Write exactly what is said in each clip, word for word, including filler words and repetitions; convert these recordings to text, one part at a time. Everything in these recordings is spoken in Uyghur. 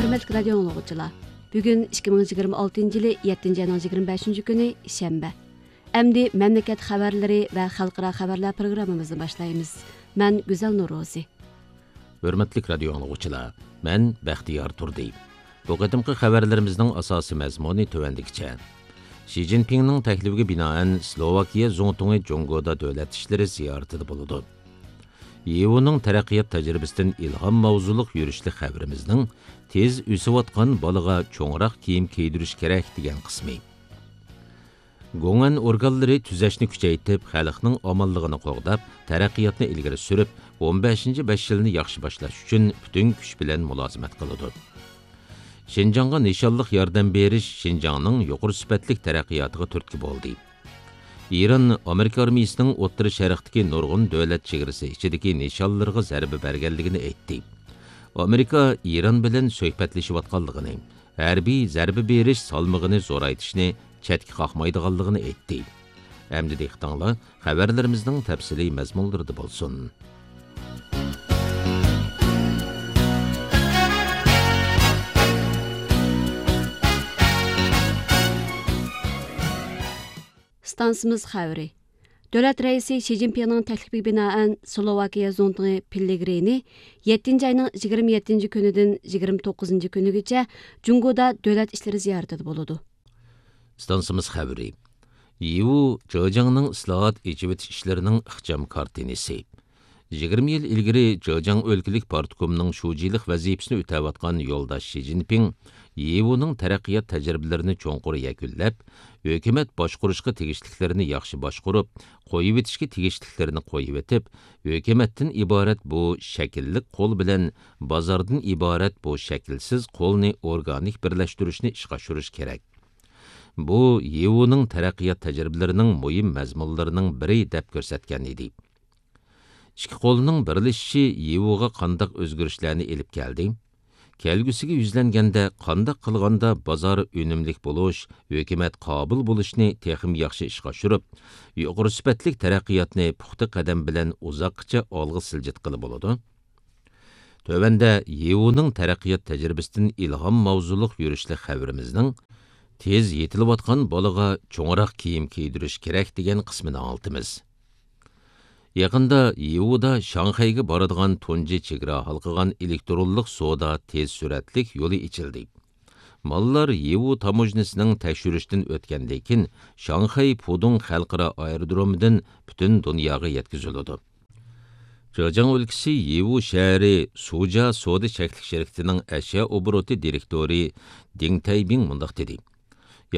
ھۆرمەتلىك رادىيو ئاڭلىغۇچىلار، بۈگۈن ئىككى مىڭ يىگىرمە ئالتىنچى يىلى يەتتىنچى ئاينىڭ يىگىرمە بەشىنچى كۈنى، شەنبە. ئەمدى مەملىكەت خەۋەرلىرى ۋە خەلقئارا خەۋەرلەر پروگراممىمىزنى باشلايمىز. مەن گۈزەل نورۇزى. ھۆرمەتلىك رادىيو ئاڭلىغۇچىلار، مەن بەختىيار تۇردى. بۇ قېتىمقى خەۋەرلىرىمىزنىڭ ئاساسىي مەزمۇنى تۆۋەندىكىچە. شى جىنپىڭنىڭ تەكلىپىگە بىنائەن، سلوۋاكىيە زۇڭتۇڭى جۇڭگودا دۆلەت ئىشلىرى زىيارىتىدە بولىدۇ. يىۋۇنىڭ تەرەققىيات تەجرىبىسىدىن ئىلھام ماۋزۇلۇق يۈرۈشلۈك خەۋىرىمىزنىڭ تېز ئۆسۈۋاتقان بالىغا چوڭراق كىيىم كىيدۈرۈش كېرەك دېگەن قىسمى. گوڭئەن ئورگانلىرى تۈزەشنى كۈچەيتىپ، خەلقنىڭ ئامانلىقىنى قوغداپ، تەرەققىياتنى ئىلگىرى سۈرۈپ، ئون بەشىنچى بەش يىلنى ياخشى باشلاش ئۈچۈن پۈتۈن كۈچ بىلەن مۇلازىمەت قىلىدۇ. شىنجاڭغا نىشانلىق ياردەم بېرىش شىنجاڭنىڭ يۇقىرى سۈپەتلىك تەرەققىياتىغا تۈرتكە بولدى. ئىران ئامېرىكا ئارمىيىسىنىڭ ئوتتۇرا شەرقتىكى نۇرغۇن دۆلەت چېگرىسى ئىچىدىكى نىشانلىرىغا زەربە بەرگەنلىكىنى ئېيتتى. ئامېرىكا ئىران بىلەن سۆھبەتلىشىۋاتقانلىقىنى، ھەربىي زەربە بېرىش سالمىقىنى زورايتىشنى چەتكە قاقمايدىغانلىقىنى ئېيتتى. ئەمدى دىققىتىڭلار خەۋەرلىرىمىزنىڭ تەپسىلىي مەزمۇنلىرىدا بولسۇن. ئىستانسىمىز خەۋىرى. دۆلەت رەئىسى شى جىنپىڭنىڭ تەكلىپىگە بىنائەن، سلوۋاكىيە زۇڭتۇڭى پېللېگرىنى يەتتىنچى ئاينىڭ يىگىرمە يەتتىنچى كۈنىدىن يىگىرمە توققۇزىنچى كۈنىگىچە جۇڭگودا دۆلەت ئىشلىرى زىيارىتىدە بولىدۇ. ئىستانسىمىز خەۋىرى. يىۋۇ جېجياڭنىڭ ئىسلاھات، ئېچىۋېتىش ئىشلىرىنىڭ ئىخچام كارتىنىسى. يىگىرمە يىل ئىلگىرى جېجياڭ ئۆلكىلىك پارتكومنىڭ شۇجىلىق ۋەزىپىسىنى ئۆتەۋاتقان يولداش شى جىنپىڭ يىۋۇنىڭ تەرەققىيات تەجرىبىلىرىنى چوڭقۇر يەكۈنلەپ، ھۆكۈمەت باشقۇرۇشقا تېگىشلىكلىرىنى ياخشى باشقۇرۇپ، قويۇۋېتىشكە تېگىشلىكلىرىنى قويۇۋېتىپ، ھۆكۈمەتتىن ئىبارەت بۇ شەكىللىك قول بىلەن بازاردىن ئىبارەت بۇ شەكىلسىز قولنى ئورگانىك بىرلەشتۈرۈشنى ئىشقا ئاشۇرۇش كېرەك. بۇ يىۋۇنىڭ تەرەققىيات تەجرىبىلىرىنىڭ مۇھىم مەزمۇنلىرىنىڭ بىرى، دەپ كۆرسەتكەن ئىدى. ئىككى قولنىڭ بىرلىشىشى يىۋۇغا قانداق ئۆزگىرىشلەرنى ئېلىپ كەلدى؟ كەلگۈسىگە يۈزلەنگەندە، قانداق قىلغاندا بازار ئۈنۈملۈك بولۇش، ھۆكۈمەت قابىل بولۇشنى تېخىمۇ ياخشى ئىشقا ئاشۇرۇپ، يۇقىرى سۈپەتلىك تەرەققىياتنى پۇختا قەدەم بىلەن ئۇزاققىچە ئالغا سىلجىتقىلى بولىدۇ؟ تۆۋەندە يىۋۇنىڭ تەرەققىيات تەجرىبىسىدىن ئىلھام ماۋزۇلۇق يۈرۈشلۈك خەۋىرىمىزنىڭ تېز يېتىلىۋاتقان بالىغا چوڭراق كىيىم كىيدۈرۈش كېرەك دېگەن قىسمىنى ئاڭلىتىمىز. يېقىندا يىۋۇدا شاڭخەيگە بارىدىغان تۇنجى چېگرا ھالقىغان ئېلېكترونلۇق سودا تېز سۈرئەتلىك يولى ئېچىلدى. ماللار يىۋۇ تاموژنىسىنىڭ تەكشۈرۈشتىن ئۆتكەندىن كېيىن، شاڭخەي پۇدۇڭ خەلقئارا ئايرودرومىدىن پۈتۈن دۇنياغا يەتكۈزۈلىدۇ. جېجياڭ ئۆلكىسى يىۋۇ شەھىرى سۇجيا سودا چەكلىك شىركىتىنىڭ ئەشيا ئوبوروتى دىرېكتورى دىڭ تەيبىڭ مۇنداق دېدى: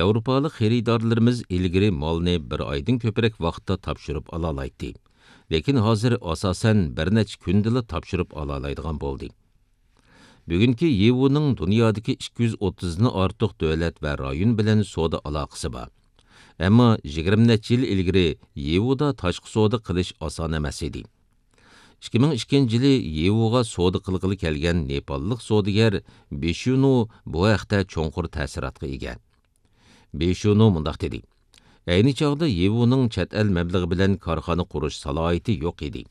ياۋروپالىق خېرىدارلىرىمىز ئىلگىرى مالنى بىر ئايدىن كۆپرەك ۋاقىتتا تاپشۇرۇپ ئالالايتتى، لېكىن ھازىر ئاساسەن بىر نەچچە كۈندىلا تاپشۇرۇپ ئالالايدىغان بولدى. بۈگۈنكى يىۋۇنىڭ دۇنيادىكى ئىككى يۈز ئوتتۇزدىن ئارتۇق دۆلەت ۋە رايون بىلەن سودا ئالاقىسى بار. ئەمما يىگىرمە نەچچە يىل ئىلگىرى يىۋۇدا تاشقى سودا قىلىش ئاسان ئەمەس ئىدى. ئىككى مىڭ ئىككىنچى يىلى يىۋۇغا سودا قىلغىلى كەلگەن نېپاللىق سودىگەر بىشۇنۇ بۇ ھەقتە چوڭقۇر تەسىراتقا ئىگە. بىشۇنۇ مۇنداق دېدى: ئەينى چاغدا يىۋۇنىڭ چەت ئەل مەبلىغى بىلەن كارخانا قۇرۇش سالاھىيىتى يوق ئىدى.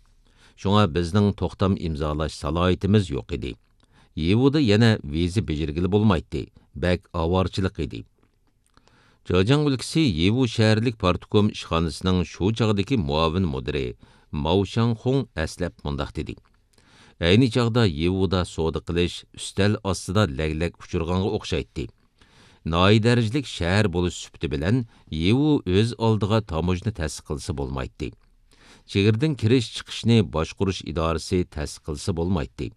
شۇڭا بىزنىڭ توختام ئىمزالاش سالاھىيىتىمىز يوق ئىدى. يىۋۇدا يەنە ۋىزا بېجىرگىلى بولمايتتى، بەك ئاۋارىچىلىق ئىدى. جېجياڭ ئۆلكىسى يىۋۇ شەھەرلىك پارتكوم ئىشخانىسىنىڭ شۇ چاغدىكى مۇئاۋىن مۇدىرى ماۋ شاڭخۇڭ ئەسلەپ مۇنداق دېدى: ئەينى چاغدا يىۋۇدا سودا قىلىش ئۈستەل ئاستىدا لەگلەك ئۇچۇرغانغا ئوخشايتتى. ناھىيە دەرىجىلىك شەھەر بولۇش سۈپىتى بىلەن يىۋۇ ئۆز ئالدىغا تاموژنا تەسىس قىلسا بولمايتتى. چېگرىدىن كىرىش چىقىشنى باشقۇرۇش ئىدارىسى تەسىس قىلسا بولمايتتى.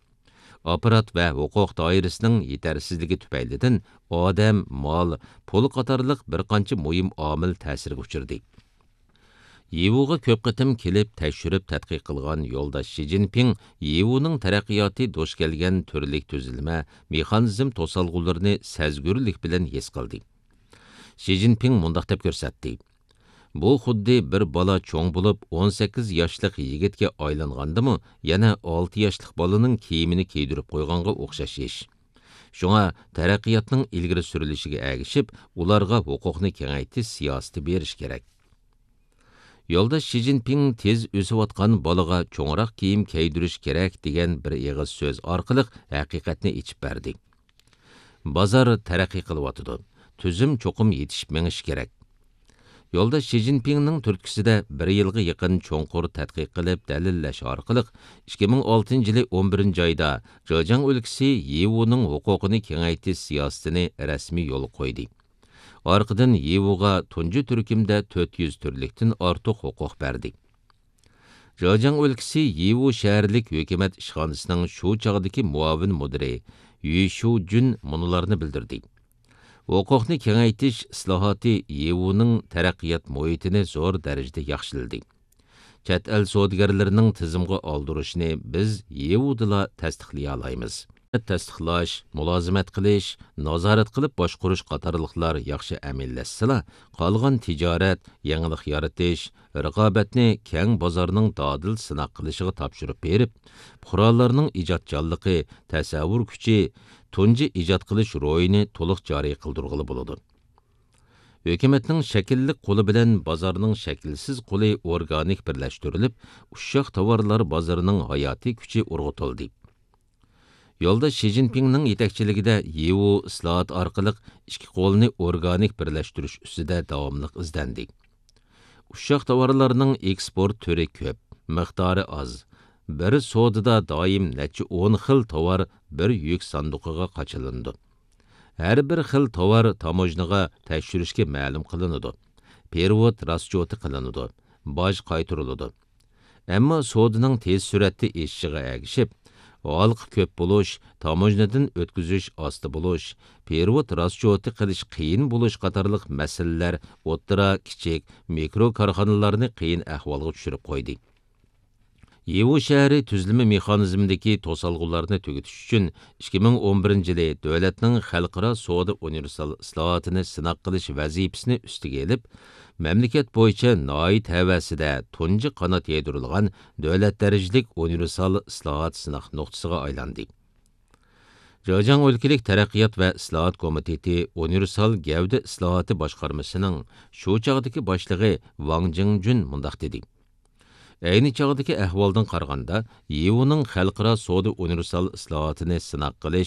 ئاپپارات ۋە ھوقۇق دائىرىسىنىڭ يېتەرسىزلىكى تۈپەيلىدىن ئادەم، مال، پۇل قاتارلىق بىر قانچە مۇھىم ئامىل تەسىرگە ئۇچرىدى. يىۋۇغا كۆپ قېتىم كېلىپ تەكشۈرۈپ تەتقىق قىلغان يولداش شى جىنپىڭ يىۋۇنىڭ تەرەققىياتى دۇچ كەلگەن تۈرلۈك تۈزۈلمە، مېخانىزم توسالغۇلىرىنى سەزگۈرلۈك بىلەن ھېس قىلدى. شى جىنپىڭ مۇنداق دەپ كۆرسەتتى: بۇ خۇددى بىر بالا چوڭ بولۇپ، ئون سەككىز ياشلىق يىگىتكە ئايلانغاندىمۇ، يەنە ئالتە ياشلىق بالىنىڭ كىيىمىنى كىيدۈرۈپ قويغانغا ئوخشاش ئىش. شۇڭا تەرەققىياتنىڭ ئىلگىرى سۈرۈلۈشىگە ئەگىشىپ، ئۇلارغا ھوقۇقنى كېڭەيتىش سىياسىتى بېرىش كېرەك. يولداش شى جىنپىڭ تېز ئۆسۈۋاتقان بالىغا چوڭراق كىيىم كىيدۈرۈش كېرەك دېگەن بىر ئېغىز سۆز ئارقىلىق ھەقىقەتنى ئېچىپ بەردى. بازار تەرەققىي قىلىۋاتىدۇ. تۈزۈم چوقۇم يېتىشىپ مېڭىشى كېرەك. يولداش شى جىنپىڭنىڭ تۈرتكىسىدە بىر يىلغا يېقىن چوڭقۇر تەتقىق قىلىپ دەلىللەش ئارقىلىق، ئىككى مىڭ ئالتىنچى يىلى ئون بىرىنچى ئايدا جېجياڭ ئۆلكىسى يىۋۇنىڭ ھوقۇقىنى كېڭەيتىش سىياسىتىنى رەسمىي يولغا قويدى. ئارقىدىن يىۋۇغا تۇنجى تۈركۈمدە تۆت يۈز تۈرلۈكتىن ئارتۇق ھوقۇق بەردى. جېجياڭ ئۆلكىسى يىۋۇ شەھەرلىك ھۆكۈمەت ئىشخانىسىنىڭ شۇ چاغدىكى مۇئاۋىن مۇدىرى يۈ شۇ جۈن مۇنۇلارنى بىلدۈردى: ھوقۇقنى كېڭەيتىش ئىسلاھاتى يىۋۇنىڭ تەرەققىيات مۇھىتىنى زور دەرىجىدە ياخشىلىدى. چەت ئەل سودىگەرلىرىنىڭ تىزىمغا ئالدۇرۇشىنى بىز يىۋۇدىلا تەستىقلىيالايمىز. تەستىقلاش، مۇلازىمەت قىلىش، نازارەت قىلىپ باشقۇرۇش قاتارلىقلار ياخشى ئەمەلىيلەشسىلا، قالغان تىجارەت، يېڭىلىق يارىتىش، رىقابەتنى كەڭ بازارنىڭ دادىل سىناق قىلىشىغا تاپشۇرۇپ بېرىپ، پۇقرالارنىڭ ئىجادچانلىقى، تەسەۋۋۇر كۈچى، تۇنجى ئىجاد قىلىش روھىنى تولۇق جارى قىلدۇرغىلى بولىدۇ. ھۆكۈمەتنىڭ شەكىللىك قولى بىلەن بازارنىڭ شەكىلسىز قولى ئورگانىك بىرلەشتۈرۈلۈپ، ئۇششاق تاۋارلار بازىرىنىڭ ھاياتىي كۈچى ئۇرغۇتۇلدى. يولداش شى جىنپىڭنىڭ يېتەكچىلىكىدە يىۋۇ ئىسلاھات ئارقىلىق ئىككى قولنى ئورگانىك بىرلەشتۈرۈش ئۈستىدە داۋاملىق ئىزدەندى. ئۇششاق تاۋارلارنىڭ ئېكسپورت تۈرى كۆپ، مىقدارى ئاز. بىر سودىدا دائىم نەچچە ئون خىل تاۋار بىر يۈك ساندۇقىغا قاچىلىنىدۇ. ھەر بىر خىل تاۋار تاموژنىغا تەكشۈرۈشكە مەلۇم قىلىنىدۇ، پېرېۋوت راسچوتى قىلىنىدۇ، باج قايتۇرۇلىدۇ. ئەمما سودىنىڭ تېز سۈرئەتتە ئېشىشىغا ئەگىشىپ، ھالقا كۆپ بولۇش، تاموژنىدىن ئۆتكۈزۈش ئاستا بولۇش، پېرېۋوت راسچوتى قىلىش قىيىن بولۇش قاتارلىق مەسىلىلەر ئوتتۇرا، كىچىك، مىكرو كارخانىلارنى قىيىن ئەھۋالغا چۈشۈرۈپ قويدى. يىۋۇ شەھىرى تۈزلىمە مېخانىزمىدىكى توسالغۇلارنى تۈگىتىش ئۈچۈن، ئىككى مىڭ ئون بىرىنچى يىلى دۆلەتنىڭ خەلقئارا سودا ئۇنىۋېرسال ئىسلاھاتىنى سىناق قىلىش ۋەزىپىسىنى ئۈستىگە ئېلىپ، مەملىكەت بويىچە ناھىيە تەۋەسىدە تۇنجى قانات يايدۇرۇلغان دۆلەت دەرىجىلىك ئۇنىۋېرسال ئىسلاھات سىناق نۇقتىسىغا ئايلاندى. جېجياڭ ئۆلكىلىك تەرەققىيات ۋە ئىسلاھات كومىتېتى ئۇنىۋېرسال گەۋدە ئىسلاھاتى باشقارمىسىنىڭ شۇ چاغدىكى باشلىقى ۋاڭ جىڭجۈن مۇنداق دېدى: ئەينى چاغدىكى ئەھۋالدىن قارىغاندا، يىۋۇنىڭ خەلقئارا سودا ئۇنىۋېرسال ئىسلاھاتىنى سىناق قىلىش